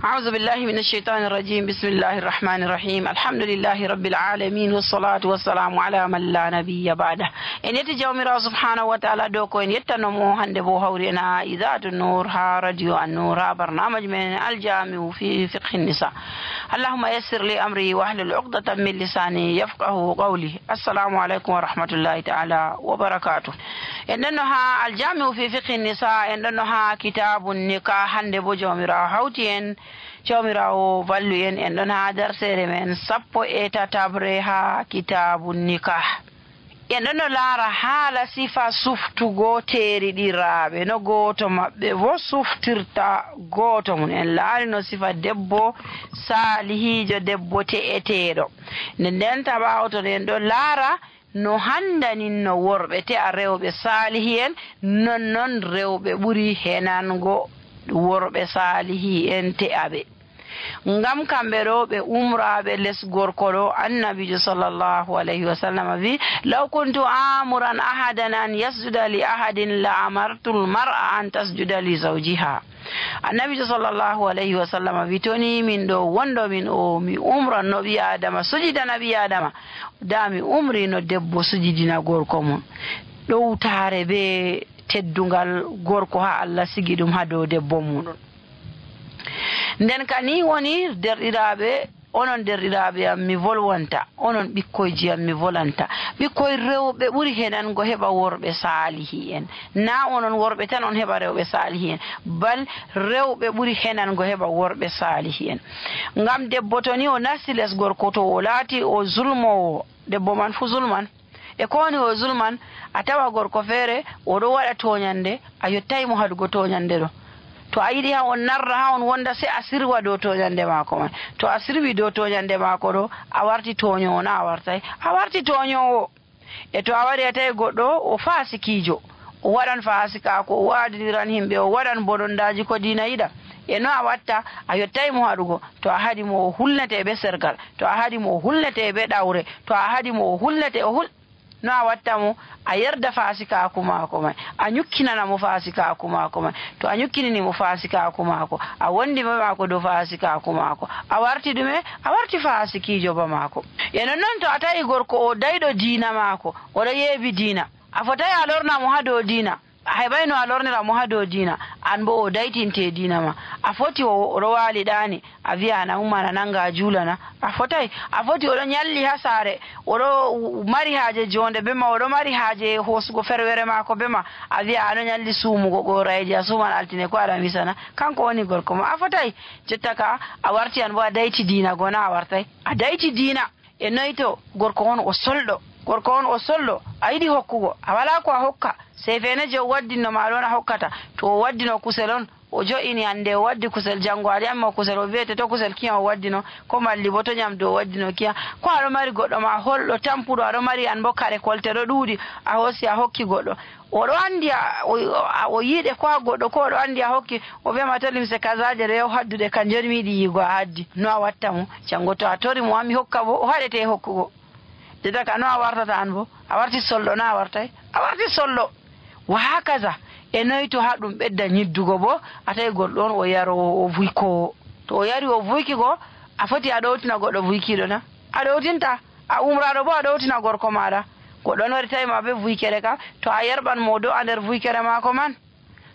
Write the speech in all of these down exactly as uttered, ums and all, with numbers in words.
أعوذ بالله من الشيطان الرجيم. بسم الله الرحمن الرحيم. الحمد لله رب العالمين والصلاة والسلام على من لا نبي بعده. إن يتجاومر سبحانه وتعالى دوكو إن يتنمو هندبو هورينا إذاعة النور ها راديو النور ها برنامج من الجامع في فقه النساء. اللهم يسر لي أمري واحلل عقدة من لساني يفقه قولي. السلام عليكم ورحمة الله تعالى وبركاته. إنها الجامع في فقه النساء إنها كتاب النكاح هندبو جاومر هوتين jawmirawo vallu en en ɗon ha darsere men sappo e tatabre ha kitabu nikah. En ɗon no laara haala sifa suftugo teriɗiraɓe no goto maɓɓe bo suftirta goto mum. En laari no sifa debbo salihijo debbo te'eteɗo. nde nden taɓawton en ɗon laara no handanin no worɓe te'a rewɓe salihi en nonnon rewɓe ɓuri henango worɓe salihi en te'aɓe. ngam kamɓe ɗo ɓe umraɓe les gorko ɗo annabijo sallllahu alayhi wa sallam wi law kuntu amuran ahadan an yasjuda li ahadin la amartu lmar'a an tasjuda li zawjiha. annabijo sallllahu alayhi wa sallam wi toni min ɗo wondo min o mi umran no ɓi adama sujidana ɓi adama da mi umri no debbo sujidina gorko mum ɗowtare be teddungal gorko ha Allah sigi ɗum ha dow debbo muɗum. nden kani woni derɗiraɓe onon derɗiraɓe am mi volwanta onon ɓikkoyji am mi volanta ɓikkoye rewɓe ɓuri henango heɓa worɓe salihi en na onon worɓe tan on heɓa rewɓe salihi en bal rewɓe ɓuri henango heɓa worɓe salihi en. ngam debbo to ni o nasti les gorko to o laati o zulmowo debbo man fu zulman e kowoni o zulman a tawa gorko feere oɗo waɗa toñande a yottayimo hadugo toñande ɗo. to a yiɗi ha on narra ha on wonda se a sirwa dow toñande maako man. to a sirwi dow toñande maako ɗo a warti toñowo na a wartay a warti toñowo. e to a wari a tawi goɗɗo o fasikijo o waɗan fasikako o waadiriran himɓe o waɗan bodondaji ko diina yiɗa e no a watta a yottaymo haɗugo. to a haɗimo o hulnete ɓe sergal to a haɗimo o hulnete ɓe ɗawre to a haɗimo o hulnete o hul no a watta mo a yerda fasikaku maako mai a nyukkinana mo fasikaku maako mai. to a nyukkinini mo fasikaku maako a wondi be maako do fasikaku maako a warti ɗume a warti fasikijo ba maako. e non noon to a tawi gorko o dayɗo diina maako oɗo yeebi diina a fotayi a lorna mo ha dow diina a heɓayno a lornira mo ha dow diina an bo o daytinte diina ma a foti oɗo waali ɗani a wiya ana ummana nanga a juulana a fotayi a foti oɗo nyalli ha saare oɗo mari haaje jonde be ma oɗo mari haaje hoosugo ferwere maako be ma a wiya ano nyalli suumugo gorayeji a suuman altine ko aɗa wisana kanko woni gorko ma a fotayi. jotta ka a warti an bo a dayti diina gona a wartayi a dayti diina. e noyi to gorko on o solɗo gorko on o solɗo a yiɗi hokkugo a wala ko a hokka sey fene je o waddinno ma ɗon a hokkata. to o waddino kusel on o jo'ini hande o waddi kusel janngo aɗa yamma kusel o wiyete to kusel kiya o waddino ko malli bo to nyamdu o waddino kiya ko aɗo mari goɗɗo ma holɗo tampuɗo aɗo mari an bo kare kolte ɗo ɗuuɗi a hoosi a hokki goɗɗo oɗo andi o yiiɗe ko ha goɗɗo ko oɗo andi a hokki o wiyama to limse kasaje rew haddude kanjoni mi yiɗi yiigo a haddi no a watta mo janngo to a tori mo ami hokka bo o haɗete hokkugo. dedaka no a wartata an bo a warti solɗo na a wartay a warti solɗo wa hakaza. e noyi to ha ɗum ɓedda ñiddugo bo a tawi goɗɗo on o yaro o vuykowo to o yari o vuykigo a foti a ɗowtina goɗɗo vuykiɗo na a ɗowtinta a umraɗo bo a ɗowtina gorko maɗa goɗɗo on wari tawi ma be vuykere kam to a yerɓan mo do a nder vuykere maako man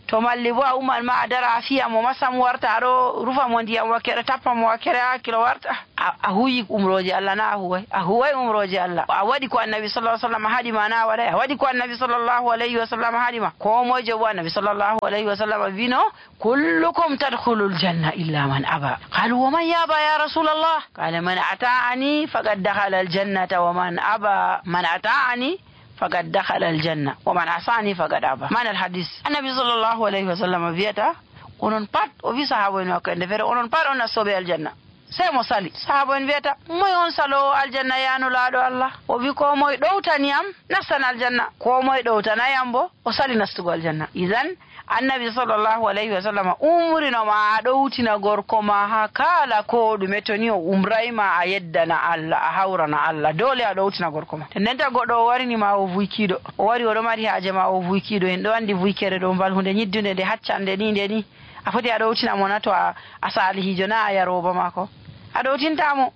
to malli bo a uman ma a dara a fiya mo masam warta aɗo rufa mo ndiyam wakkere tappa mo wakkere hakkilo warta a huyi umroje Allah na a huway a huway umroje Allah. a waɗi ko annabi sallallahu alaihi wasallam haɗima na waɗay a waɗi ko annabi sallallahu alaihi wasallam haɗima ko moyjo bo annabi sallallahu alaihi wasallam wino kullukum tadkhulul janna illa man aba qalu wa man yaba ya rasulallah qala man ata'ani faqad dakhala al jannata wa man aba man ata'ani faqad dakhala al janna wa man asani faqad aba. man al hadith annabi sallallahu alaihi wasallam wiyata onon pat o wi sahaba en wakkande fere onon pat on nastoɓe aljanna sey mo sali sahaba en wiyata moy on salowo aljanna yanulaɗo Allah o wi ko moye ɗowtaniyam nastan aljanna ko moye ɗowtanayam bo o sali nastugo aljanna. idan annabi sallallahu alaihi wa sallam umrinoma a ɗowtina gorko ma ha kala ko ɗume to ni o umrayma a yeddana Allah a hawrana Allah dole a ɗowtina gorko ma. nden ta goɗɗo o warinima o vuykiɗo o wari oɗo mari haaje ma o vuykiɗo en ɗo andi vuykere ɗo mbal hunde ñiddude nde haccande ni nde ni a foti a ɗowtinamo na to a, a salihijo na a yaroba mako a ɗowtintamo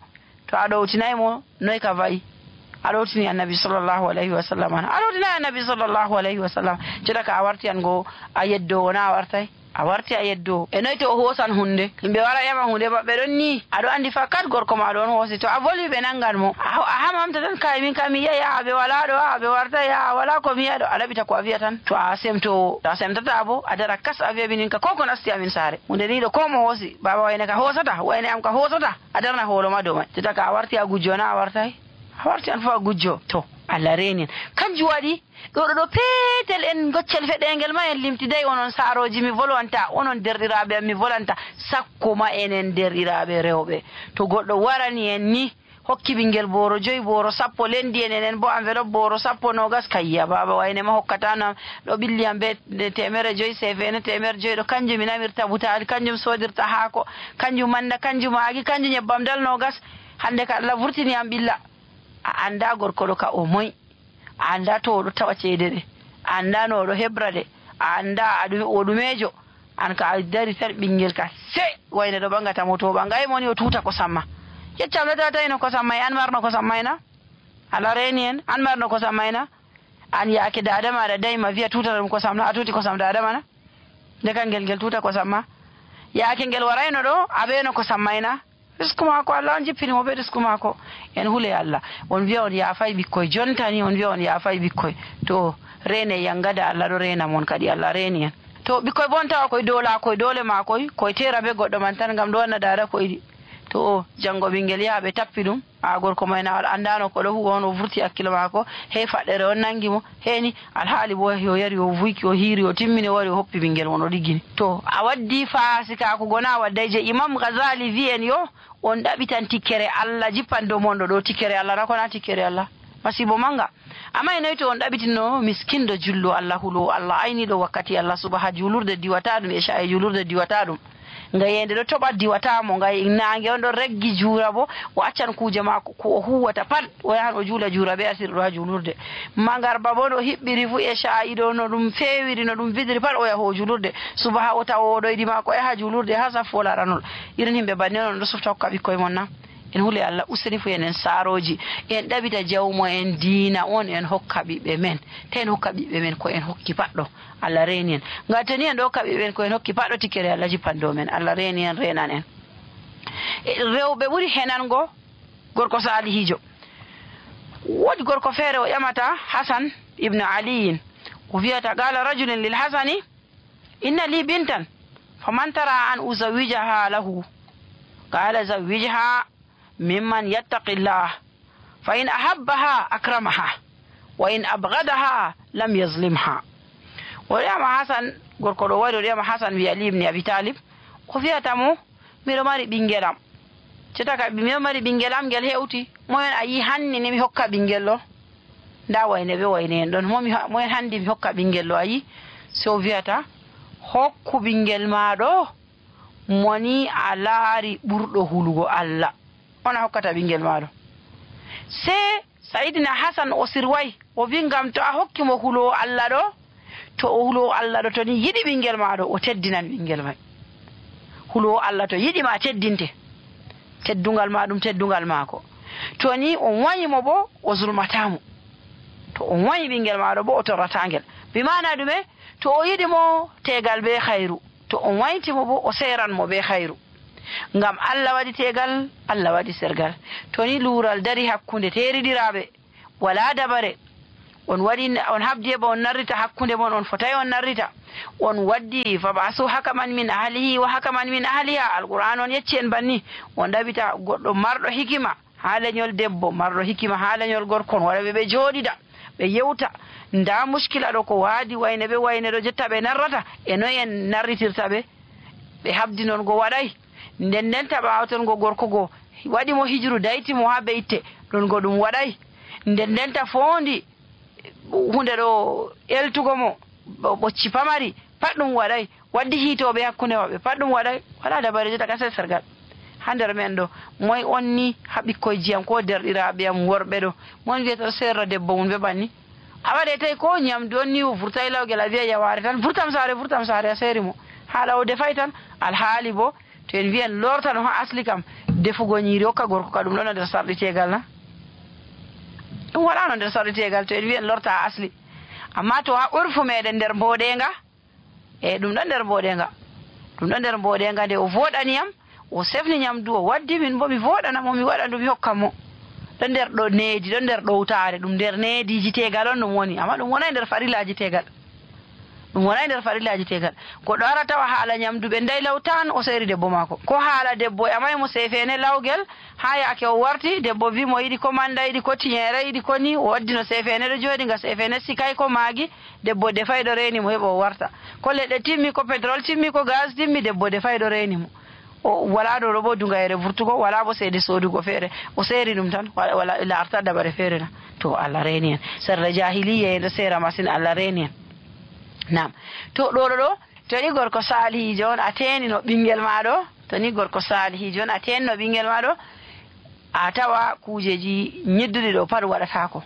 to a ɗowtinaymo noy ka wayi a ɗowtini annabi sallllahu alayhi wa sallam an a ɗowtinayi annabi sallllahu alayhi wa sallam joɗa ka a warti an go a yeddowo na a wartay a warti a yeddowo e noy to o hoosan hunde yimɓe wara ƴama hunde maɓɓe ɗon ni aɗo andi fakat gorko ma ɗon hoosi to a voli ɓe nangan mo a hamamta tan kay min kam mi yiya ya ɓe wala ɗo a ɓe warta ya wala ko mi yiya ɗo a ɗaɓita ko a wiya tan to a semto to a semtata bo a dara kas a wiya minin ka ko ko nasti amin saare hunde ni ɗo ko mo hoosi baba wayne ka hoosata wayne am ka hoosata a darna hoolo ma dow may teta ka a warti a gujjo na a wartay a warti an fof a gujjo to Allah reeni en kanjum waɗi ɗo ɗo peetel en goccel feɗengel ma en limtiday onon saaroji mi volwanta onon derɗiraɓe am mi volanta sakko ma enen derɗiraɓe rewɓe to goɗɗo warani en ni hokki ɓinguel boro joyi boro sappo lendi en enen bo enveloppe boro sappo nogas kayya baba wayne ma hokkatanam ɗo ɓilliyam be temere joyi sefene temere joyi ɗo kanjum mi namirta butali kanjum sodirta haako kanjum manda kanjum maagi kanjum nyebbam dal nogas hande ka Allah vurtini am ɓilla a anda gorko ɗo ka o moy a anda to oɗo tawa ceede ɗe a anda no oɗo heɓra ɗe a anda o ɗumejo an ka a dari tan ɓinguel ka se wayne ɗo ɓangatamo to ɓangay moni o tuta kosam ma yeccam ɗo tatayino kosam may an marno kosam mayna ala reeni en an marno kosam mayna an yaake dada maɗa dayma wiya tutata ɗum kosam na a tuti kosam dada mana ndeka ngel ngel tuta kosam ma yaake ngel warayno ɗo a ɓeeno kosam mayna risku mako Allah on jippini mo ɓe risku mako en huule Allah on wiya on yaafay ɓikkoye jontani on wiya on yaafay ɓikkoye to reene yangada Allah ɗo reena mon kadi Allah reeni en to ɓikkoye bon tawa koye dola koye dole makoye koye tera be goɗɗo man tan gam ɗo wanna dada koyɗi to o janggo ɓinguel yaha ɓe tappi ɗum a gorko mayna andano ko ɗo huwa on o vurti hakkilo mako hey faɗɗere on nangi mo heni alhaali bo yo yari o vuyki o hiiri o timmini o wari o hoppi ɓinguel mon o ɗiggini to a waddi fasika ko gona wadday je imam Ghazali wi en yo on ɗaɓitan tikkere Allah jippan dow mon ɗo ɗo tikkere Allah na kona tikkere Allah masibo manga amma e nayi to on ɗaɓitino miskinɗo jullo Allah hulo Allah ayniɗo wakkati Allah subaha julurde diwata ɗum e sha e julurde diwata ɗum ngayende ɗo toɓa diwatamo ngay nangue on ɗo reggi juura bo o accan kuuje mako ko o huwata pat o yahan o juula juura ɓe asiri ɗo ha julurde magarba bo no hiɓɓiri fu e sha'i ɗo no ɗum fewiri no ɗum widiri pat o yaha o julurde subaha o tawa oɗoyɗi mako o yaha julurde ha safo laranol irin yimɓe banni on ɗo sufta hokka ɓikkoye mon na en huule Allah useni fu enen saaroji en ɗaɓita jawmo en diina on en hokka ɓiɓɓe men te en hokka ɓiɓɓe men ko en hokki patɗo Allah reeni en gatani en ɗo hokka ɓiɓɓe men ko en hokki patɗo tikkere Allah jippan dow men Allah reeni en renan en rewɓe ɓuuri henango gorko salihijo woodi gorko feere o ƴamata Hasan ibnu aliyin o wiyata qala rajulin lil hasani inna li bintan faman tara an uzawijaha lahu qala zawijha mimman yattaqillah fa in ahabbaha akramaha wa in abghadaha lam yazlimha o wiyama Hasan gorko ɗo wari o wiyama Hasan wi Ali ibn Abi Talib ko wiyata mo miɗo mari ɓinguelam cetaka miɗo mari ɓinguelam ngel hewti moyen a yi hanni ni mi hokka ɓinguel ɗo nda wayne ɓe wayne en ɗon moyen handi mi hokka ɓinguel ɗo a yi so wiyata hokku ɓinguel maɗo moni a laari ɓurɗo hulugo Allah ona hokkata ɓinguel maɗo se Sayyidina Hasan o sirway o wi ngam to a hokkimo hulowo Allah ɗo to o hulowo Allah ɗo to ni yiɗi ɓinguel maɗo o teddinan ɓinguel may hulowo Allah to yiɗi ma teddinte teddungal ma ɗum teddungal maako to ni on wayimo bo o zulmatamo to on wayi ɓinguel maɗo bo o torratangel bimana ɗume to o yiɗi mo tegal be khayru to on waytimo bo o seranmo be khayru ngam Allah waɗi tegal Allah waɗi sergal to ni luural dari hakkunde teriɗiraɓe wala dabare on waɗi on habdi e ba on narrita hakkunde mon on fotay on narrita on waddi fabasu hakaman min ahlihi wa hakaman min ahliha alquran on yecci en banni on ɗaɓita goɗɗo marɗo hikima ha leñol debbo marɗo hikima ha leñol gorko on waɗaɓe ɓe jooɗiɗa ɓe yewta nda muskila ɗo ko waadi wayne ɓe wayne ɗo jotta ɓe narrata e noy en narritirta ɓe ɓe habdi noon go waɗay nden nden taɓa ton go gorko go waɗimo hijru daytimo ha ɓe itte ɗon go ɗum waɗay nden nden ta fondi hunde ɗo eltugo mo ɓocci pamari pat ɗum waɗay waddi hiitoɓe hakkunde maɓɓe pat ɗum waɗay wala dabare jota ka sergal ha nder men ɗo moy on ni ha ɓikkoye jiyam ko derɗiraɓe am worɓe ɗo mon wiyata serra debbo mum ɓe ɓanni a waɗe tawi ko ñamdu on ni o vurtay lawguel a wiya yaware tan vurtam saare vurtam saare a seeri mo haala o defay tan alhaali bo to en wiyen lorta no ha asli kam defugo ñiiri hokka gorko ka ɗum ɗon nder sarɗitegal na ɗum waɗano nder sarɗitegal to en wiyen lorta ha asli amma to ha urfu meɗen nder mboɗenga e ɗum ɗon nder mboɗenga ɗum ɗon nder mboɗenga nde o voɗaniyam o sefni ñamdu o waddi min bo mi voɗanamo mi waɗa ɗum mi hokka mo ɗon nder ɗo needi ɗon nder ɗowtare ɗum nder neediji tegal on ɗum woni amma ɗum wonai nder farillaji tegal ɗum wonai nder farillaji tegal goɗɗo ara tawa haala ñamdu ɓe ndayi law tan o seeri debbo maako ko haala debbo e amay mo sefene lawgel ha yaake o warti debbo wi mo yiɗi ko manda yiɗi ko tiñere yiɗi ko ni o waddino sefene ɗo jooɗi nga sefene sikay ko maagi debbo defayɗo reeni mo heɓa o warta ko leɗɗe timmi ko pétrole timmi ko gaz timmi debbo defayɗo reeni mo o wala ɗo ɗo bo dungayere vurtugo wala bo seede sodugo feere o seeri ɗum tan wala larta dabare feere na to Allah reeni en sarla jahiliya en ɗo seera masine Allah reeni en nam to ɗo ɗo ɗo to ni gorko salihijo on a tenino ɓinguel maɗo to ni gorko salihijo on a tenino ɓinguel maɗo a tawa kujeji ñidduɗi ɗo pat waɗatako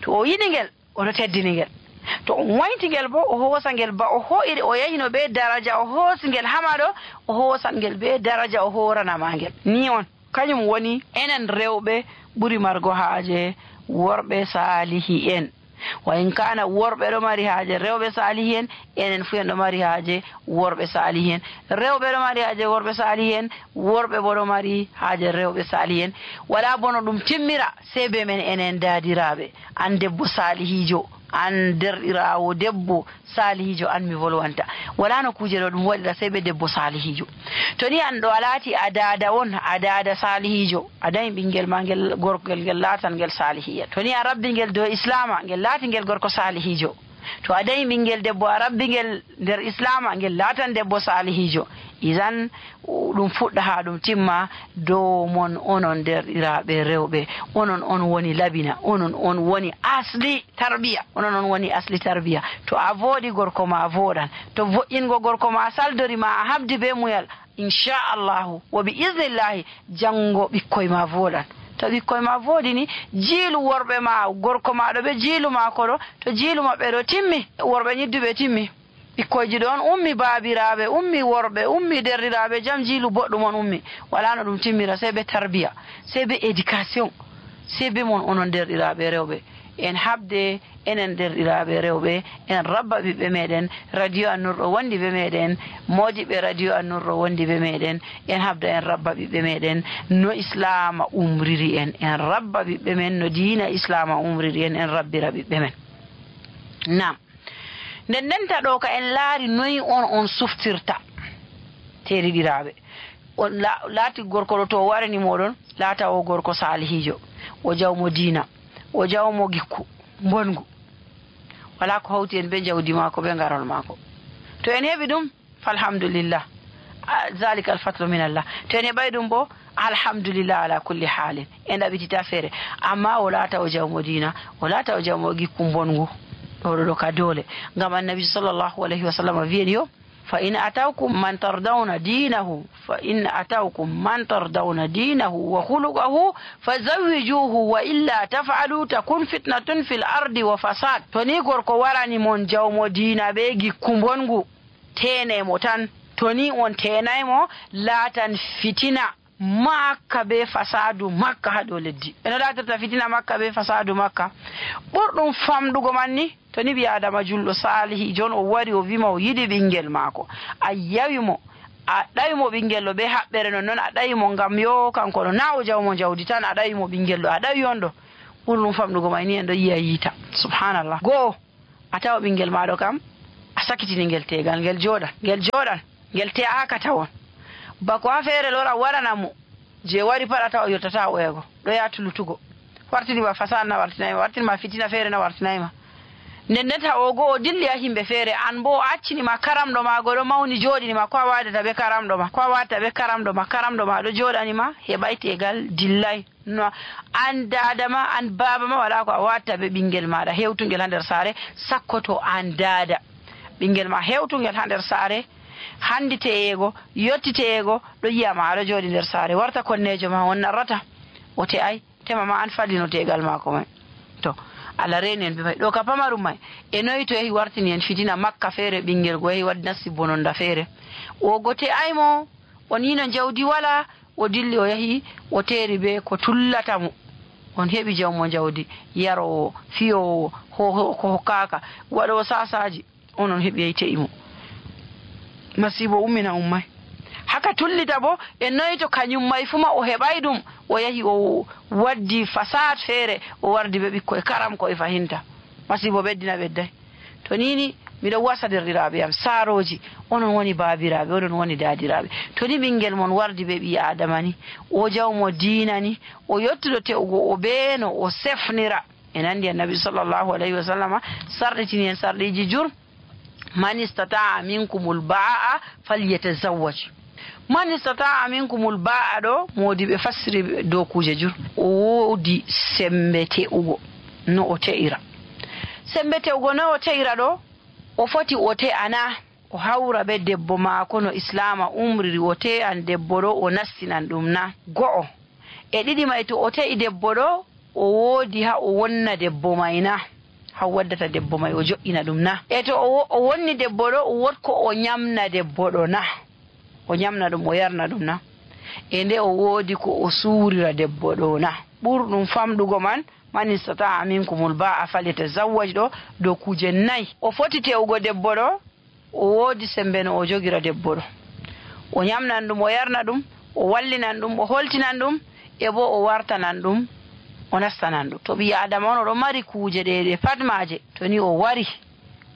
to o yiɗi ngel oɗo teddini ngel to on waynti ngel bo o hoosa ngel ba o hoyiri o yahino be daraja o hoosi ngel hamaɗo o hoosan ngel be daraja o horanama ngel ni on kañum woni enen rewɓe ɓuri margo haaje worɓe salihi en wa in kana worɓe ɗo mari haaje rewɓe salihi en enen fu en ɗo mari haaje worɓe salihi en rewɓe ɗo mari haaje worɓe salihi en worɓe bo ɗo mari haaje rewɓe salihi en wala bono ɗum timmira sey be men enen daadiraɓe an debbo salihijo an derɗirawo debbo salihijo an mi volwanta wala no kuje ɗo ɗum waɗira sey ɓe debbo salihijo to ni an ɗo a laati a dada on a dada salihijo a dañi ɓinguel ma ngel gorgel ngel laatan ngel salihiya to ni a rabbi ngel dow islama ngel laati ngel gorko salihijo to a dañi ɓinguel debbo a rabbi ngel nder islama ngel laatan debbo salihijo isan ɗum fuɗɗa ha ɗum timma dow mon onon derɗiraɓe rewɓe onon on woni labina onon on woni asli tarbiya onon on woni asli tarbiya to a vooɗi gorko ma voɗan to vo'ingo gorko ma saldori ma a habdi be muyal inchallahu wo bi isnillahi janggo ɓikkoye ma voɗan to ɓikkoye ma voodi ni jiilu worɓe ma gorko ma ɗo ɓe jiilu mako ɗo to jiilu maɓɓe ɗo timmi worɓe ñidduɓe timmi ɓikkoyji ɗo on ummi baabiraɓe ummi worɓe ummi derɗiraɓe jam jiilu boɗɗum on ummi wala no ɗum timmira sey ɓe tarbiya sey ɓe éducation sey be mon onon derɗiraɓe rewɓe en habde enen derɗiraɓe rewɓe en rabba ɓiɓɓe meɗen radio annurɗo wondi ɓe meɗen modiɓe radio annurɗo wondi ɓe meɗen en habda en rabba ɓiɓɓe meɗen no islama umriri en en rabba ɓiɓɓe men no diina islama umriri en en rabbira ɓiɓɓe men nam nden ndenta ɗo ka en laari noyi on on suftirta teriɗiraɓe on laati gorko ɗo to o warani moɗon laata o gorko salihijo o jawmo diina o jawmo gikku bongu wala ko hawti en be jawdi maako be garol maako to en heɓi ɗum falhamdulillah zalika alfatlu min allah to en heɓay ɗum bo alhamdulillah ala kulli halin en ɗaɓitita feere amma o laata o jawmo diina o laata o jawmo gikku bongu ɗo ɗo ka doole ngam annabi sallllahu alayhi wa sallam wiyeni yo fa in atawkum man tardawna dinahu fa in atawkum man tardawna dinahu wa khuluqahu fazawwijuhu wa illa taf'alu takun fitnatun fil ardi wa fasad to ni gorko warani mon jawmo diina be gikku bongu tenemo tan to ni on tenaymo laatan fitina makka be fasadu makka ha dow leddi eno latirta fitina makka be fasadu makka ɓurɗum famɗugo man ni to ni ɓi adama julɗo salihi jon o wari o wima o yiɗi ɓinguel maako a yawimo a ɗawimo ɓinguel ɗo be haɓɓere non noon a ɗawimo ngam yo kanko ɗo na o jawmo jawdi tan a ɗawimo ɓinguel ɗo a ɗawi on ɗo ɓurɗum famɗugo may ni en ɗo yiya yiita subhanallah goho a tawa ɓinguel maɗo kam a sakitini ngel tegal ngel jooɗan ngel jooɗan ngel te'aka tawon bako ha feere lora waranamo je wari pat a tawa o yottata oyego ɗo ya tulutugo wartinima fasad na wartinayima wartinima fitina feere na wartinayima nden ndenta o go o dilli ha himɓe feere an bo o accinima karamɗo ma go ɗo mawni joɗinima ko a wadata ɓe karamɗo ma ko a watta ɓe karamɗo ma karamɗo ma ɗo joɗanima heɓay tegal dillay no an dadama an babama wala ko a watta ɓe ɓinguel maɗa hewtugel ha nder saare sakkoto an dada ɓinguel ma hewtugel ha nder saare handiteyego yottiteyego ɗo yiyama aɗo jooɗi nder saare warta konnejo ma on narrata o te ay tema ma an fallino tegal mako mai to ala reni en ɓe may ɗo ka pamarum may e noyi to yahi wartini en fitina makka feere ɓinngel go yahi waddi nasti bononda feere o gote aymo on yino jawdi wala o dilli o yahi o teeri be ko tullata mo on heɓi jawmo jawdi yarowo fiyowo ko hokkaka waɗowo sasaji onon heɓi yey te'i mo masibo ummina ummay haka tullita bo e noyi to kañum may fuma o heɓay ɗum o yahi o waddi fasad feere o wardi ɓe ɓikkoye karam koye fahinta masibo ɓeddina ɓedday to nini miɗo wasa derɗiraɓe am saaroji onon woni baabiraɓe onon woni daadiraɓe to ni ɓinguel mon wardi ɓe ɓi adama ni o jawmo diina ni o yettuɗo te'ugo o beeno o sefnira en andi annabi sallllahu alayhi wa sallama sarɗitini en sarɗiji jur man istata'a minkumul ba'a falyatazawwaj man istata'a minkumul ba'a ɗo modiɓe fassiri dow kuje jur o woodi sembe te'ugo no o te'ira sembe te'ugo no o te'ira ɗo o foti o te'ana o hawra be debbo maako no islama umriri o te'an debbo ɗo o nastinan ɗum na go'o e ɗiɗi may to o te'i debbo ɗo o woodi ha o wonna debbo may na ha waddata debbo may o jo'ina ɗum na e to o wonni debbo ɗo o wotko o ñamna debbo ɗo na o ñamna ɗum o yarna ɗum na e nde o woodi ko o suurira debbo ɗo na ɓurɗum famɗugo man man istata'a minkumul ba'a falyatazawwaj ɗo dow kuje nayi o foti te'ugo debbo ɗo o woodi sembe no o jogira debbo ɗo o ñamnan ɗum o yarna ɗum o wallinan ɗum o holtinan ɗum e bo o wartanan ɗum o nastanan ɗum to ɓi adama on oɗo mari kuje ɗeɗe pat maje to ni o wari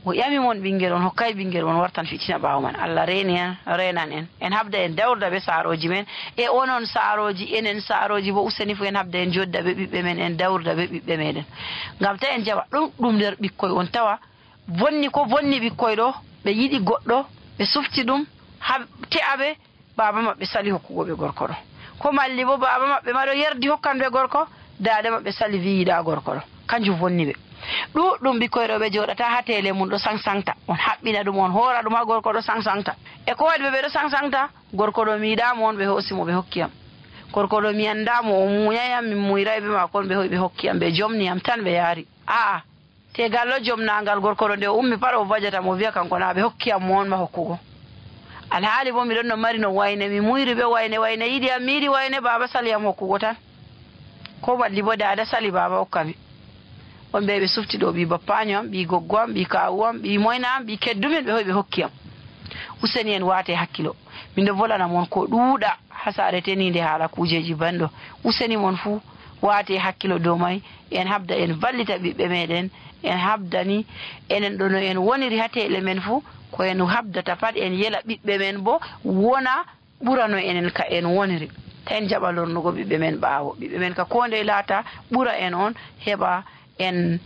o ƴami mon ɓinguel on hokkay ɓinguel on wartan fitina ɓaawo man Allah reeni en renan en en habda en dawrda ɓe saaroji men e onon saaroji enen saaroji bo useni fu en habda en jodda ɓe ɓiɓɓe men en dawrda ɓe ɓiɓɓe meɗen ngam ta en jaɓa ɗum ɗum nder ɓikkoy on tawa bonni ko bonni ɓikkoy ɗo ɓe yiɗi goɗɗo ɓe sufti ɗum ha te'aɓe baba maɓɓe sali hokkugo ɓe gorko ɗo ko malli bo baba maɓɓe maɗo yerdi hokkan ɓe gorko daade maɓɓe sali wi yiɗa gorko ɗo kanjum wonni ɓe ɗuɗɗum ɓikkoy ɗo ɓe joɗata ha tele mum ɗo sangsangta on haɓɓina ɗum on hoora ɗum ha gorko ɗo sangsangta e ko waɗi ɓe ɓe ɗo sangsangta gorko ɗo mi yiɗamo on ɓe hoosimo ɓe hokkiyam gorko ɗo mi andamo o muñayam min muyray ɓe mako on ɓe hoyi ɓe hokkiyam ɓe jomniyam tan ɓe yaari aa tegal ɗo jomnagal gorko ɗo nde o ummi pat o bajata mo wiya kanko na ɓe hokkiyam mo on ma hokkugo alhaali bo miɗon no mari no wayne mi muyri ɓe wayne wayne yiɗi am mi yiɗi wayne baba saliyam hokkugo tan ko malli bo dada sali baba hokkami on ɓe ɓe sufti ɗo ɓi bappaño am ɓi goggo am ɓi kawu am ɓi moyna am ɓi keddumen ɓe hoy ɓe hokkiyam useni en waate hakkilo mindo volana mon ko ɗuuɗa ha saare tenide haala kujeji banɗo useni mon fuu waate hakkilo dow may en habda en vallita ɓiɓɓe meɗen en habdani enen ɗo no en woniri ha teele men fuu ko en habdata pat en yela ɓiɓɓe men bo wona ɓurano enen ka en woniri ta en jaɓa lornugo ɓiɓɓe men ɓaawo ɓiɓɓe men ka konde laata ɓura en on heɓa en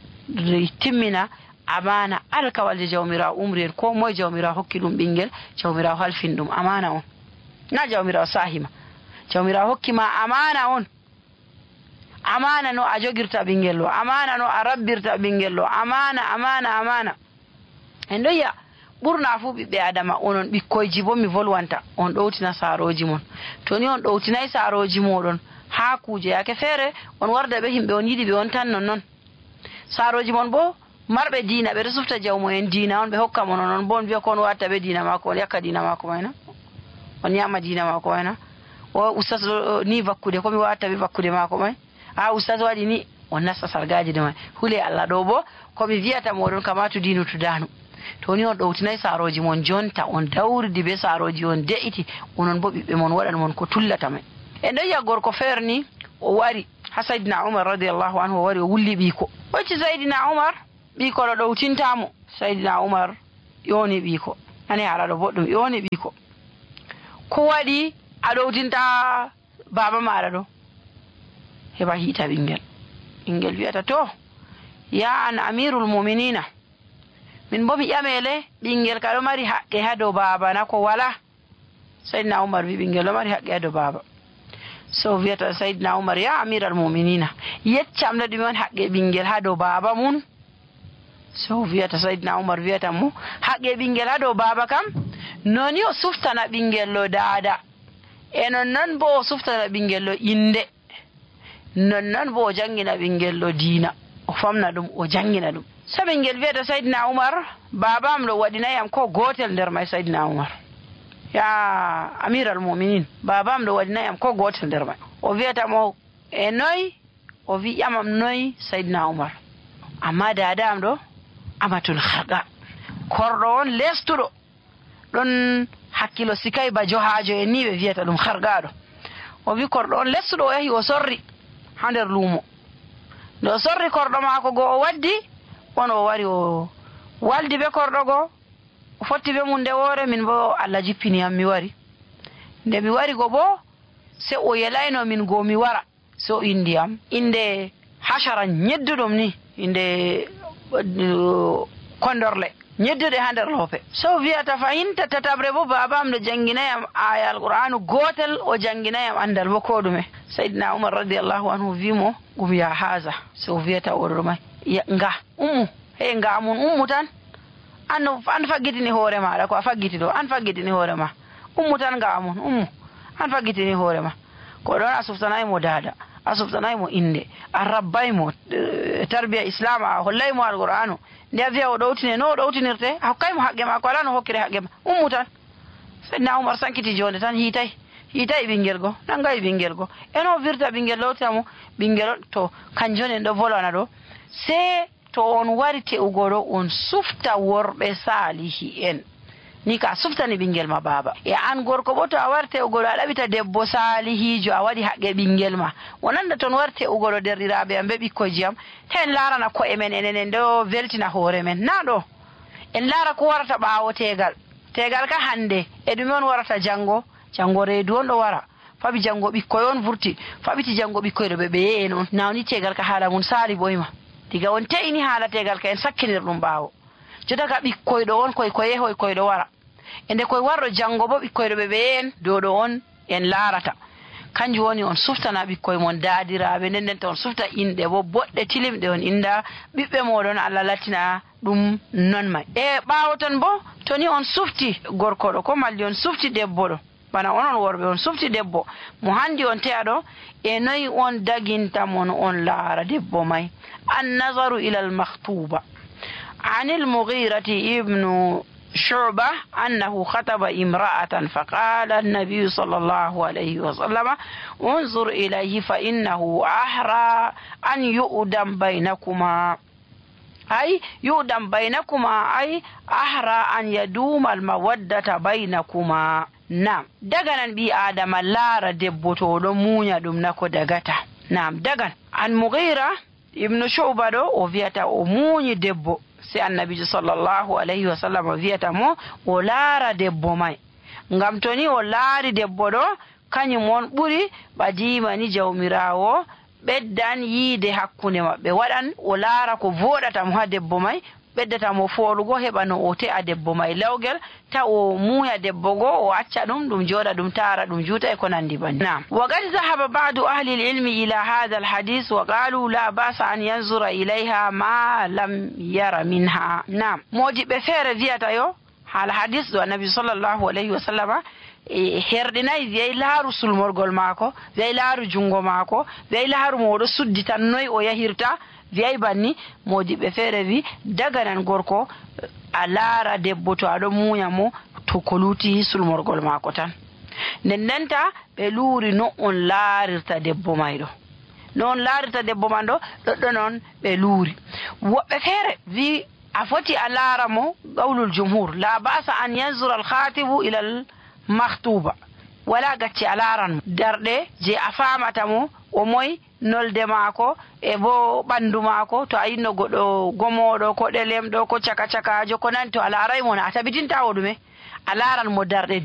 timmina amana alkawalje jawmirawo umri en ko moye jawmirawo hokki ɗum ɓinguel jawmirawo halfin ɗum amana on na jawmirawo sahima jawmirawo hokkima amana on amana no a jogirta ɓinguel ɗo amana no a rabbirta ɓinguel ɗo amana amana amana en ɗo yiya ɓurna fuu ɓiɓɓe adama onon ɓikkoyji bo mi volwanta on ɗowtina saaroji mon to ni on ɗowtinayi saaroji moɗon ha kuje yake feere on warda ɓe himɓe on yiɗi ɓe on tan non noon saaroji mon bo marɓe diina ɓeɗo sufta jawmo en diina on ɓe hokka mon onon bo on wiya ko on watta ɓe diina mako on yakka diina mako mayna on ñama diina mako mayna o ustas ni vakkude komi watta ɓe vakkude mako may ha ustas waɗi ni on nasta sargaji de may huule Allah ɗo bo komi wiyata moɗon kamatu dinu to danu to ni on ɗowtinayi saaroji mon jonta on dawridi be saaroji on de'iti onon bo ɓiɓɓe mon waɗan mon ko tullata may en ɗo yiya gorko feere ni o wari ha saydina Umar radiallahu anhu o wari o wulli ɓiiko hocci saydina Umar ɓiiko ɗo ɗowtintamo saydina Umar ƴoni ɓiiko nani haala ɗo boɗɗum ƴoni ɓiiko ko waɗi a ɗowtinta baba maɗa ɗo heɓa hiita ɓinguel ɓinguel wiyata to ya an amirul muminina min bo mi ƴamele ɓinguel ka ɗo mari haqqe ha dow baba na ko wala saydina Umar wi ɓinguel ɗo mari haqqe ha dow baba so wiyata saydina Umar ya amiral muminina yeccam no ɗume on haqqe ɓinguel ha dow baba mun so wiyata saydina Umar wiyata mo haqqe ɓinguel ha dow baba kam noni o suftana ɓinguel ɗo daada e nonnon bo o suftana ɓinguel ɗo inde nonnon bo o jangina ɓinguel ɗo diina o famna ɗum o jangina ɗum. So ɓingel wiyata Saydina Umar babam ɗo waɗinayam ko gotel nder may. Saydina Umar ya amiral muminin babam ɗo waɗinayam ko gotel nder may. O wiyatamo e noy? O wi ƴamam noy? Saydina Umar amma dadam ɗo amatul harqa korɗo on lestuɗo ɗon hakkilo sikay ba johajo en ni ɓe wiyata ɗum hargaɗo. O wi korɗo on lestuɗo o yahi o sorri ha nder luumo. nde o sorri korɗo maako go o waddi on o wari o waldi be korɗo go o fotti be mum nde woore min bo Allah jippiniyam mi wari. nde mi wari go bo se o yelayno min go mi wara se o indiyam inde hashara ñedduɗum ni inde kondorle ñedduɗe ha nder loope. so wiyata fayinta tatabre bo babam ɗo janginayam aya alqur'anu gotel o janginayam andal bo ko ɗume. Sayyidina Umar radiyallahu anhu wimo ɗum ya haza. so wiyata oɗo may nga ummu hey nga mun ummu tan an an faggitini hoore maɗa ko a faggiti ɗo an faggitini hoore ma ummu tan nga mun ummu an faggitini hoore ma ko ɗon a suftanaymo dada a suftanaymo inde a rabbaymo tarbiya islam a hollaymo alqur'anu nde a wiya o ɗowtine no o ɗowtinirte a hokkaymo haqqe ma ko ala no hokkire haqqe ma ummu tan. Sayyidina Umar sankiti jonde tan hiitay hiitay ɓinguel go nangayi ɓinguel go eno wirta ɓinguel lowtamo ɓinguel to kanjon en ɗo volwana ɗo se to on wari te'ugo ɗo on sufta worɓe salihi en ni ka suftani ɓinguel ma baba e an gorko bo to a wari te'ugo ɗo a ɗaɓita debbo salihijo a waɗi haqqe ɓinguel ma wonanda toon wari te'ugo ɗo derɗiraɓe am be ɓikkoyji am ta en larana ko'e men enen en ɗo weltina hoore men na ɗo en laara ko warata ɓaawo tegal tegal ka hande e ɗume on warata janggo janggo reedu on ɗo wara faɓi janggo ɓikkoy on vurti faɓiti janggo ɓikkoy ɗo ɓe ɓeye en on nawni tegal ka haala mum saali ɓoyma diga on te'ini haala tegal ka en sakkinir ɗum ɓaawo jodaga ɓikkoy ɗo on koy ko yehoy koy ɗo wara e nde koye warɗo janggo bo ɓikkoy ɗo ɓe ɓeye en dow ɗo on en laarata kanjum woni on suftana ɓikkoy mon daadiraɓe nden nden to on sufta inɗe bo boɗɗe tilimɗe on inda ɓiɓɓe moɗon Allah lattina ɗum non may. e ɓaawo ton bo to ni on sufti gorko ɗo ko malli on sufti debbo ɗo bana onon worɓe on sufti debbo mo handi on te'a ɗo e noyi on daginta mon on laara debbo may. an nazaru ila al makhtuba an il mughirati ibnu شعبة أنه خطب امرأة فقال النبي صلى الله عليه وسلم انظر إليه فإنه أحرى أن يؤدم بينكما أي يؤدم بينكما أي أحرى أن يدوم المودة بينكما. نعم دغنا بي آدم لار دبوتو دمونيا دم نكو دغتا. نعم دغن عن مغيرة ابن شعبة دو وفيتا أموني دبو si annabijo sallallahu alayhi wa sallam wiyata mo o laara debbo may ngam to ni o laari debbo ɗo kañum on ɓuri ɓadimani jawmirawo ɓeddan yiide hakkunde maɓɓe waɗan o laara ko voɗata mo ha debbo may ɓeddata mo folugo heɓa no o te'a debbo may lawgel ta o muuya debbo go o acca ɗum ɗum jooɗa ɗum taara ɗum juuta e ko nandi banni. nam wa qad zahaba ba'du ahli al-ilmi ila hadha al-hadith wa qalu la ba'sa an yanzura ilayha ma lam yara minha. nam modiɓɓe feere wiyata yo haala hadis ɗo annabi sallllahu alayhi wa sallama e herɗinayi wiyay laaru sulmorgol maako wiyay laaru junngo maako wiyay laaru mo oɗo suddi tan noyi o yahirta wiyay banni modiɓɓe feere wi daganan gorko a laara debbo to aɗo muuya mo to ko luuti sulmorgol maako tan nden ndenta ɓe luuri no on laarirta debbo mayɗo no on laarirta debbo man ɗo ɗoɗɗo noon ɓe luuri. woɓɓe feere wi a foti a laara mo gawlul jumhur la ba'sa an yanzura al khatibu ila al makhtuba wala gacci a laaran mo darɗe je a famata mo o moy nolde maako e bo ɓandu maako to a yinno goɗɗo gomoɗo ko ɗelem ɗo ko caka cakajo ko nani to a laaray mo na a tabitinta o ɗume a laaran mo darɗe